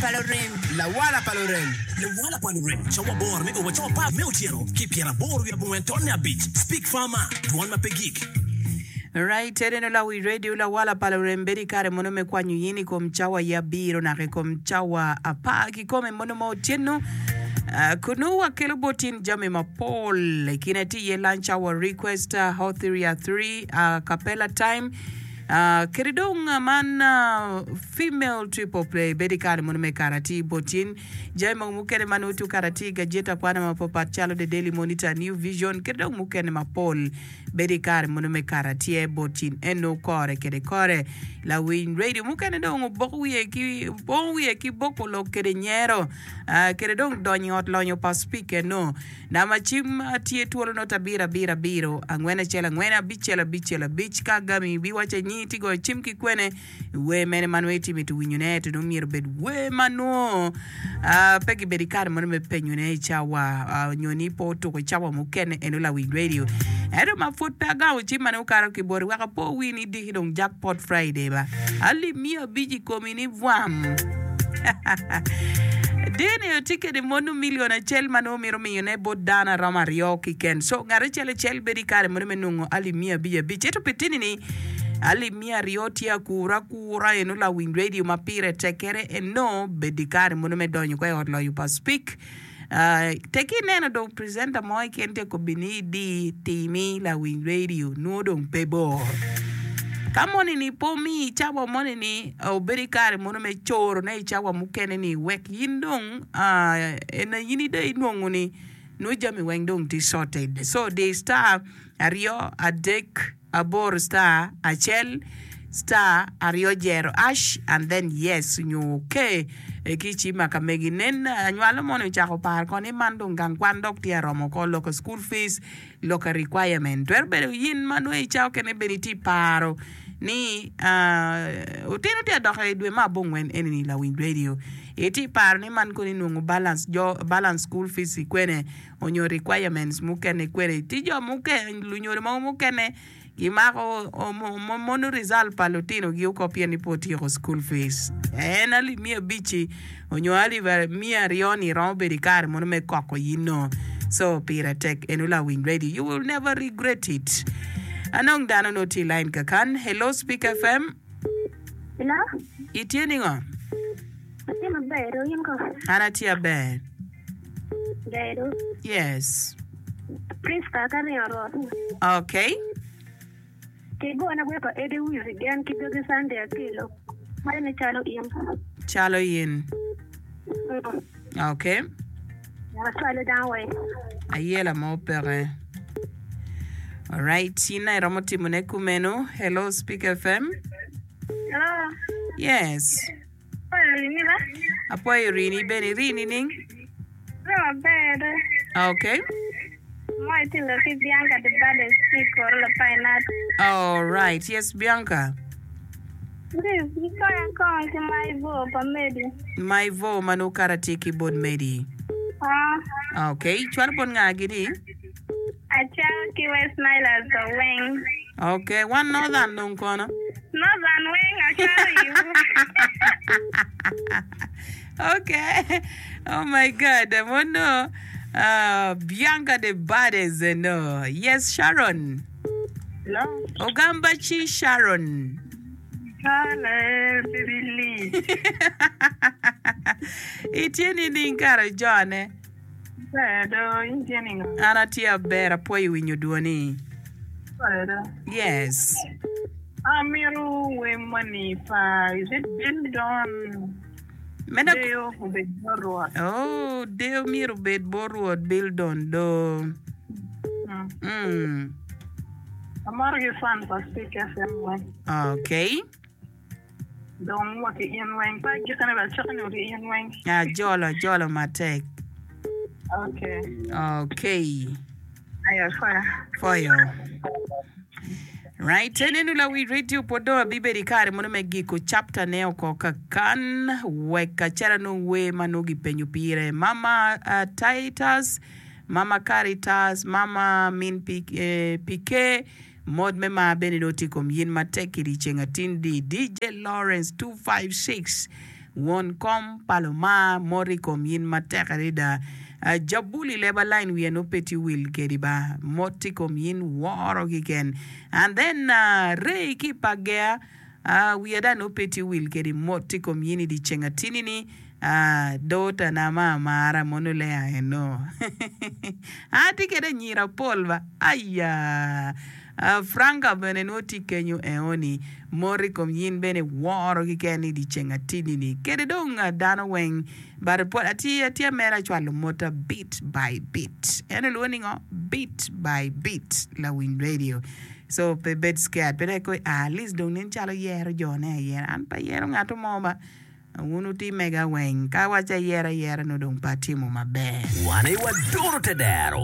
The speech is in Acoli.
pa lurem. Lawala pa lurem. Lawala pa lurem, cawa aboro me o wa cawa apar me otyeno ki pyeraboro wiye abongwen tonne abic. Speak Farmer, Dwon ma pe gik. Right, ene lawi radio lawala pa lurem bedo i kare mono me kwanyo yin i kom cawa ya abiro naka i kom cawa apar kikome mono ma otyeno. Uh, kunu wakelo bot in jami mapol i kine tye iye lunch hour request, uh, hot 3 at 3, uh, capella time, uh, kede dong uh, man uh, Female triple play bedo i kare mono me kare atir bot in. Jami mogo mukene ma nongo tye kare atir i gajeti akwana mapapat calo The Daily Monitor, New Vision ki dong mukene mapol bedo i kare mono me kare atyer bot in eno kore kede kore. Lawiny radio mukene dong oboko wiye ki obongo wiye ki boko lok kede nyero kede dong donyo i ot lonyo pa speaker eno. Namba cim tye twolo not abiro abiro abiro angwen acel angwen abicel abicel abic ka agami ibiwaca nyingi ti goyo cim ki kwene. Wer mene ma nongo itye mito winyone ento nongo myero obed wer ma nongo pe kibedo ki kare mono me penyone i cawa nyo ni pe otuko i cawa mukene eno lawiny radio. Ento ma pud pe agamo cim ma nongo okato ki boti wek apo wi ni diki dong jackpot Friday ba. Alip miya abic i komi ni bwam. Dini tye kede mono milion acel ma nongo mito miyone bot dano aromo aryo kiken. So ngat acel acel bedo ki kare mono me nongo alip miya abic abic. Ento pi tini ni alip miya aryo tye akura akura eno lawiny radio ma pire tek kere eno bed i kare mono me donyo kwa i ot loyo pa speak tek ki ineno dong presenter mo keken tye kobi ni idi timi lawiny radio nwo dong pe bor ka moni ni pe omiyi cawa moni ni obedo i kare mono me coro ne i cawa mukene ni wek in dong ena in dong inwongo ni nwo jami weng dong tye sorted so di star aryo adek aboro star acel star aryo jero ash and then yes nyo ok ki ci ma ka megi nen anywalo moni ocako paro ko ni man dong gang kwan dok tye aromo ko loko school fees loko requirement twero bedo in ma nongo i cawa okene bene itye paro ni otino tye adok i dwe me abongwen eni ni lawiny radio itye paro ni man kono inwongo balance jo balance school fees i kwene onyo requirements mukene kwede ci jo mukene lunyodo mogo mukene gimako mono result pa lutinogi oko pien ni pe otyeko school fees en alip miya abic-ci onyo alip miya aryo ni romo bedo ikare mono me koko in no so pire tek eno lawiny radio you will never regret it anong dano nongo tye i line kakan hello speak fm Hello, itye ningo atye maber, in ko? an atye aber Bedo. Yes. Prisca ka ringo rot. Okay. Ki gona gwe pa Eddie Wizi gen ki dogi Sunday Akelo. Mare ni calo in. Calo in. Mm. Okay. Acwalo dano weng. Ayela mo peke. Alright, in aye iromo timone kumeno. Hello, Speak FM. Hello. Yes. Apwoyo rini ba? Apwoyo rini bene iri nining? Ri maber do. Okay. Mo itye lok ki Bianca the baddest ki i koro Lapainat. All right. Yes, Bianca. Please, ikonya kong ki Maivo pa Medi. Maivo ma nongo kara tye ki bot Medi. Ah. Okay. Cwalo bot nga gini? Acako ki West Nilers do weng. Ok, wan Northern dong kono? Northern weng acwalo iwu. Ok, oh my God, mono uh, Bianca the baddest no. Yes, Sharon. Hello. Ogamba ci Sharon. Kale, baby Lee. Itye nining kara jone? Ber do, in tye ningo? An atye aber, apwoyo winyo dwoni. Ber do. Yes. Amito wer moni pa is it Bill Don? Meno Deyo obed bot Rwot. Oh, deyo myero obed bot Rwot Bill Don do. Mm. Mm. Amaro ki fan pa Speak FM weng. Okay. Dong wa ki in weng. Pe agikone bene acako nyo ki in weng. Ajolo ajolo matek. Okay. Okay. Aya foya. Foyo. Right, enenu lawi radio pwod dong abibedo i kare mono me giko chapter ne oko kakan wek acel anong wer ma nongo gipenyo pire. Mama uh, Titus, Mama Caritas, Mama Min PK, Mot me mar bene nongo tye i kom yin matek i dyeceng atin di. DJ Lawrence 256. Won kom pa Lumar mot i kom yin matek adada. Jabuli leba line wiye nongo pe tye wil kedi ba. Mot i kom yin woro kiken. And then Ray ki pa Gea wiya dong nongo pe tye wil kedi mot i kom yin i dye ceng atini ni daughter na ma amara mono Lea eno. Atye kede anyira pol ba aya. Franca bene nongo tye kenyo eoni mot i kom yin bene woro kiken i dyeceng atidi ni kede dong dano weng but pwod atye atye mere acwalo mota bit by bit en olwongo ni ngo bit by bit lawiny radio so pe bed scared pe dong ikoy at least dong nen calo yero jo ne ayera an pe ayero ngato mo ba wun wuti mega weng ka awaco ayera ayera nongo dong pe atimo maber. Wan aye waduro tedero.